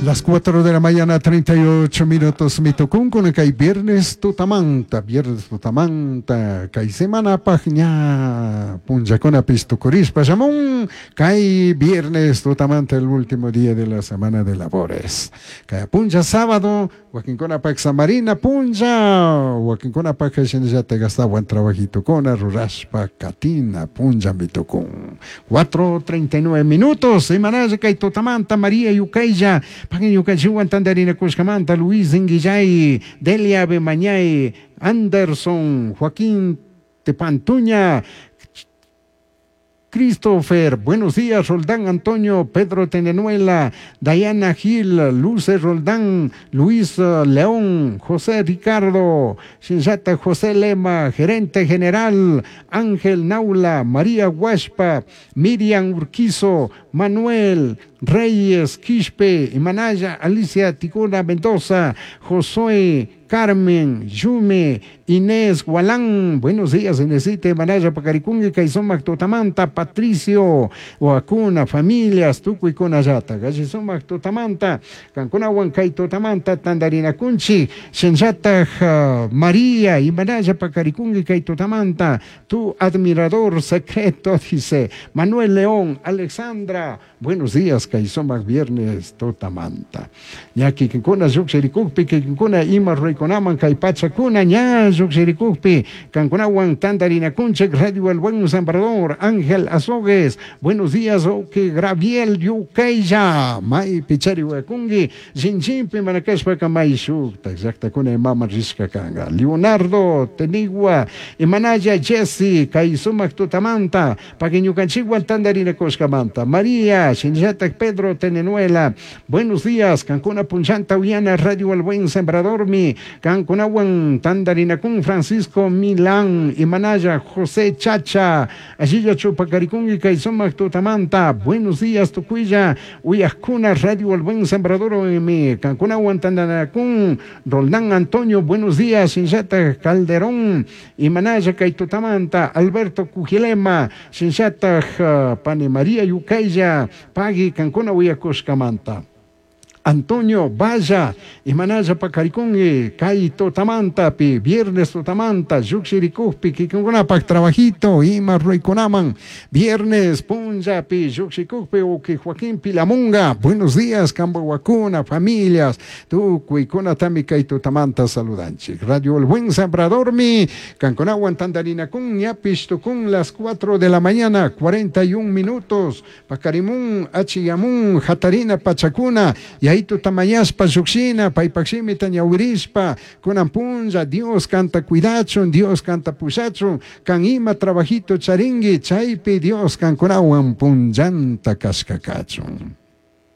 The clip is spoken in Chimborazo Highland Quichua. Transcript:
Las 4 de la mañana, 38 minutos, mitukunkuna kay viernes tutamanta, viernes tutamanta, kay semanapaj ña punllakunapish tukurishpa shamun, kay viernes tutamanta, el último día de la semana de labores. Kay punlla sábado, wakinkunapak samarina punlla, wakinkunapak shinallatak ashtawan trabajitokuna rurashpa katina punlla mitukun. 4:39 minutos, imanalla kay tutamanta María Yukaylla, pagin ñukanchikwan tantarinakushkamanta, Luis Inguillay, Delia Bemañay, Anderson, Joaquín Tepantuña, Christopher, buenos días, Roldán Antonio, Pedro Tenenuela, Diana Gil, Luce Roldán, Luis León, José Ricardo, Shinshata José Lema, gerente general, Ángel Naula, María Huaspa, Miriam Urquizo, Manuel Reyes Quispe, Imanaya, Alicia Ticuna Mendoza, Josué, Carmen, Yume, Inés Gualán, buenos días, Inesita, Imanaya, Pacaricungue, Kaisomac, Totamanta, Patricio, Oacuna, familias, Tucuicuna, Yata, Gallisomac, Totamanta, Cancuna, Huancay, Totamanta, Tandarina Cunchi, Shenjata, María, Imanaya, Pacaricungue, Totamanta, tu admirador secreto, dice Manuel León, Alexandra, buenos días, Kaisomac, viernes, Totamanta. Ñaki, Kinkuna, Yuxericukpi, Kinkuna, Ima, Ruiconaman, Kaipachakuna, ña, Yuxericukpi, Cancunawan, Tandarina Kunchek, Radio El Buen Sembrador, Ángel Azogues, buenos días, Oke, Graviel, Yukeya, May Pichari Huacungi, Jinjimpi, Manacashpa, Kamay Shukta, Exacta Kuna, Mama Rishka Kanga, Leonardo, Tenigua, Imanaya, Jesse, Kaisumak Tutamanta, Paguiñucanchigua, Tandarina Coscamanta, María, Shinjatak, Pedro, Tenenuela, buenos días, Cancuna, Punchanta, Uliana, Radio El Buen Sembrador, mi, Cancunawan, Tandarina Kun, Francisco Milán, Imanaya, José Chacha, Allilla Chupacaricungi, Kaisomac Tutamanta, buenos días, Tucuilla, Uyascuna, Radio El Buen Sembrador, mi, Cancunawan, Tandarinacún, Roldán Antonio, buenos días, Shinjata Calderón, Imanaya, Kaitutamanta, Alberto Cujilema, Shinjata, Pani María Yucaya, Pagui, Cancuna, Uyacuscamanta. Antonio Valla, Imanaya Pacaricungue, Kai Totamanta, pi, Viernes Totamanta, Yuxiricujpi, Kikungunapak Trabajito, Ima Ruiconaman, Viernes Punja, pi, Yuxicujpi, Uki Joaquín Pilamunga, buenos días, Cambohuacuna, familias, Tucuicuna Tami Kai Totamanta, saludanchi. Radio El Buen Sembrador, mi, Canconahuan Tandarina Kun, Ñapish Tucun, las 4 de la mañana, 41 minutos, Pacarimun, Achiyamun, Jatarina Pachacuna, Yaitu Tamayaspa, Yuxina, Paipaximi, Tañahuirispa, Kunampunja, Dios canta cuidachun, Dios canta pushachun, kan ima trabajito charingui, chaypi Dios kankunawan punllanta kashkakachun.